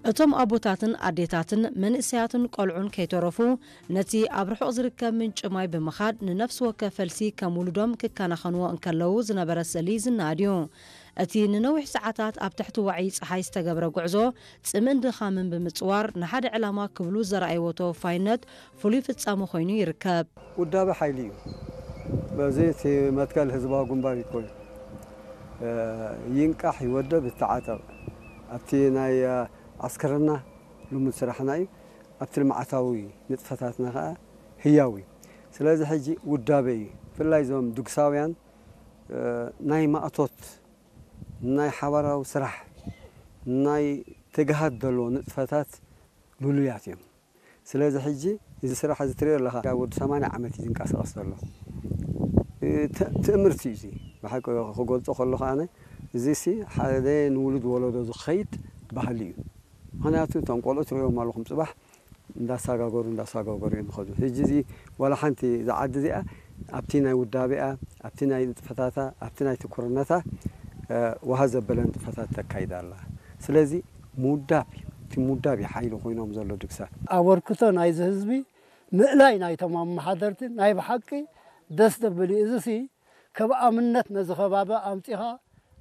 እቶም ኣቦታትን ኣዴታትን መንእሰያትን ቆልዑን ከይተረፉ ነቲ ኣብ ርሑቕ ዝርከብ ምንጪ ማይ ብምኻድ ንነፍሲ ወከፍ ፈልሲ ከም ውሉዶም ክከናኸንዎ እንከለዉ ዝነበረ ስእሊ ዝነኣድ እዩ። እቲ ንነዊሕ ሰዓታት ኣብ ትሕቲ ዋዒ ጸሓይ ዝተገብረ ጉዕዞ ጽምእን ድኻምን ብምጽዋር ንሓደ ዕላማ ክብሉ ዘርኣይዎ ተወፋይነት ፍሉይ ፍጻመ ኮይኑ ይርከብ። ውዳበ ሓይሊ እዩ። በዚ እቲ መትከል ህዝባዊ ግንባር ይኮዩ ይንቃሕ ይወደብ ይተዓጠቕ ኣብቲ ናይ ዓስከርና ልሙድ ስራሕና እዩ። ኣብቲ ልምዓታዊ ንጥፈታትና ከዓ ህያው እዩ። ስለዚ ሕጂ ውዳበ እዩ። ብፍላይ እዞም ድግሳውያን ናይ ማእቶት ናይ ሓባራዊ ስራሕ ናይ ትግሃት ዘለዎ ንጥፈታት ልሉያት እዮም። ስለዚ ሕጂ እዚ ስራሕ እዚ ትሪኦ ኣለኻ ካብ ወዲ ሰማንያ ዓመት እዩ ዝንቀሳቐስ ዘሎ። ትእምርቲ እዩ እዚ። ብሓቂ ክገልፆ ከለኹ ኣነ እዚሲ ሓደ ንውሉድ ወለዶ ዝኸይድ ባህሊ እዩ። ምክንያቱ እቶም ቆልዑ ትሪኦም ኣለኹም ፅባሕ እንዳሳጋገሩ እንዳሳጋገሩ እዮም ዝኸዱ። ሕጂ እዚ ዋላ ሓንቲ እዛ ዓዲ እዚኣ ኣብቲ ናይ ውዳቤኣ ኣብቲ ናይ ንጥፈታታ ኣብቲ ናይ ትኩርነታ ዋሃ ዘበለ ንጥፈታት ተካይዳ ኣላ። ስለዚ ምውዳብ እዩ። እቲ ምውዳብ እዩ ሓይሊ ኮይኖም ዘሎ ድግሳ። ኣበርክቶ ናይዚ ህዝቢ ምእላይ ናይቶም ኣመሓደርቲ ናይ ብሓቂ ደስ ዘብል እዩ። እዚሲ ከም ኣብነት ነዚ ከባቢ ኣምጺኻ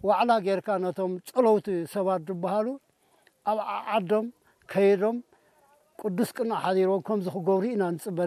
ዋዕላ ጌርካ ነቶም ጸለውቲ ሰባት ዝበሃሉ ኣብ ዓዓዶም ከይዶም ቅዱስ ቅንዕ ሓዲሮም ከምዚ ክገብሩ ኢና ንጽበ።